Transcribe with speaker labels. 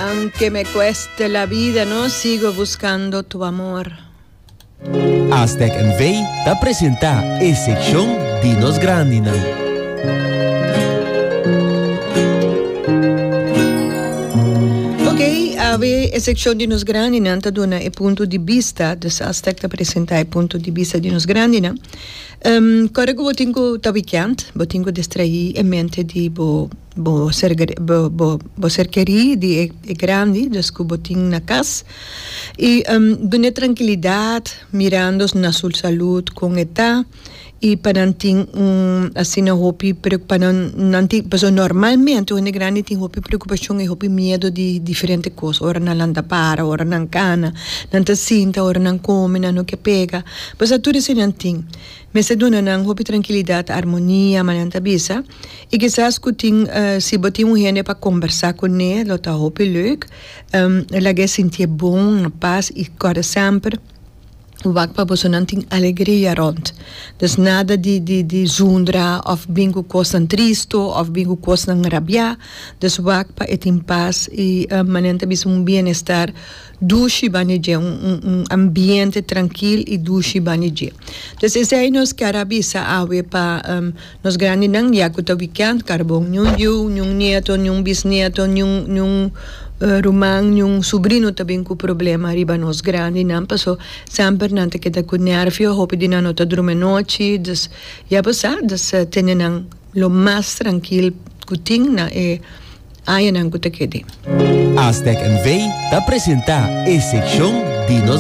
Speaker 1: Aunque me cueste la vida, no sigo buscando tu amor.
Speaker 2: Aztec NV ta presenta e seccion di nos grandinan.
Speaker 1: Ok, awe e seccion di nos grandinan ta duna e punto di bista, dus Aztec ta presenta e punto di bista di nos grandinan. Kòrda ku bo tin ku ta wikènt, bo tin ku distraí e mente di bo bo ser bo bo ser kerí di e grandi, dus ku bo tin na kas. I dun'é trankilidat mirando na su salud kon e ta i pa nan tin un asina hopi pa nan nan tin pasobra normalmente un hende grandi tin hopi preokupashon i hopi miedu di diferente kos ora nan lanta para ora nan kana nan ta sinta ora nan kome nan no ke pega. Pasobra tur esei nan tin. Mester duna nan hopi trankilidat, armonia, ma nan ta bisa. I kisas ku tin, si bo tin un hende pa kombersá kuné, lo ta hopi leuk. Laga e sintié bon, na pas i kòrda semper wak pa boso nan tin alegria rònt. Dus nada di di di zundra òf bin ku kosnan tristu òf bin ku kosnan rabiá. Dus wak pa e tin pas i manera nan ta bisa un bienestar. Dushi bani dje, un un ambiente trankil i dushi bani dje. Entonces esei nos kier a bisa awe pa nos grandinan ya ku ta wikènt karbon niun yu, niun nieto, niun bisnieto, niun niun ruman, niun subrino ta bin ku problema riba nos grandinan paso semper nan ta keda ku nèrvio, hopi di nan no ta drumi anochi, dus ya bo sa, dus tene nan lo mas trankil ku tin na e. Añanan ku ta kede.
Speaker 2: Aztec NV ta presenta e sekshon di nos.